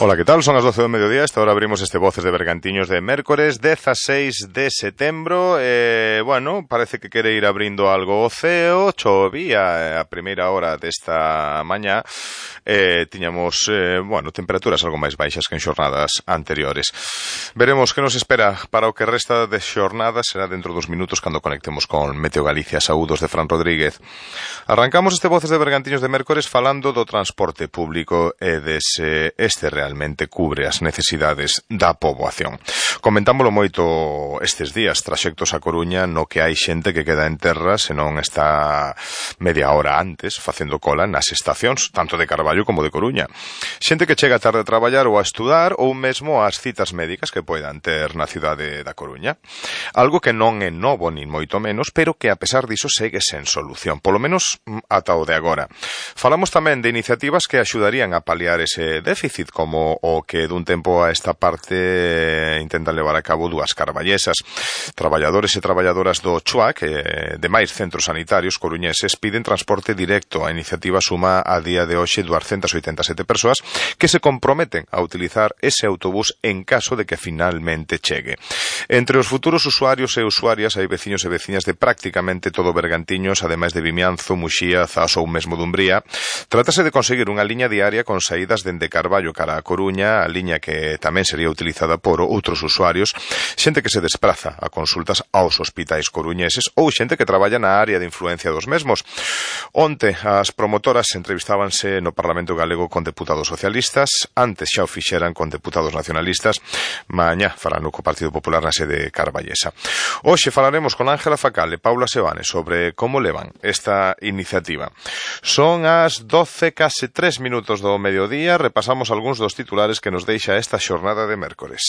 Ola, que tal? Son as 12 do mediodía. Esta hora abrimos este Voces de Bergantiños de mércores 16 de setembro. Bueno, parece que quere ir abrindo algo o ceo. Chovía a primeira hora desta mañá. Tiñamos, bueno, temperaturas algo máis baixas que en xornadas anteriores. Veremos que nos espera para o que resta de xornada. Será dentro dos minutos cando conectemos con Meteo Galicia. Saúdos de Fran Rodríguez. Arrancamos este Voces de Bergantiños de mércores falando do transporte público e dese realmente cubre as necesidades da poboación. Comentámoslo moito estes días, traxectos a Coruña no que hai xente que queda en terra se non está media hora antes facendo cola nas estacións, tanto de Carballo como de Coruña. Xente que chega tarde a traballar ou a estudar ou mesmo ás citas médicas que poidan ter na cidade da Coruña. Algo que non é novo nin moito menos, pero que a pesar diso segue sen solución, polo menos ata o de agora. Falamos tamén de iniciativas que axudarían a paliar ese déficit, como o que dun tempo a esta parte intentan levar a cabo dúas carballesas. Traballadores e traballadoras do CHUAC de máis centros sanitarios coruñeses piden transporte directo. A iniciativa suma a día de hoxe 287 persoas que se comprometen a utilizar ese autobús en caso de que finalmente chegue. Entre os futuros usuarios e usuarias hai veciños e veciñas de prácticamente todo Bergantiños, ademais de Vimianzo, Muxía, Zas ou mesmo Dumbría. Trátase de conseguir unha liña diaria con saídas dende Carballo cara a Coruña, a liña que tamén sería utilizada por outros usuarios, xente que se despraza a consultas aos hospitais coruñeses ou xente que traballa na área de influencia dos mesmos. Onte, as promotoras entrevistábanse no Parlamento Galego con deputados socialistas, antes xa o fixeran con deputados nacionalistas, mañá farano co Partido Popular na sede carballesa. Hoxe falaremos con Ángela Facal e Paula Sebane sobre como levan esta iniciativa. Son as 12, case 3 minutos do mediodía, repasamos algúns dos titulares que nos deixa esta xornada de mércores.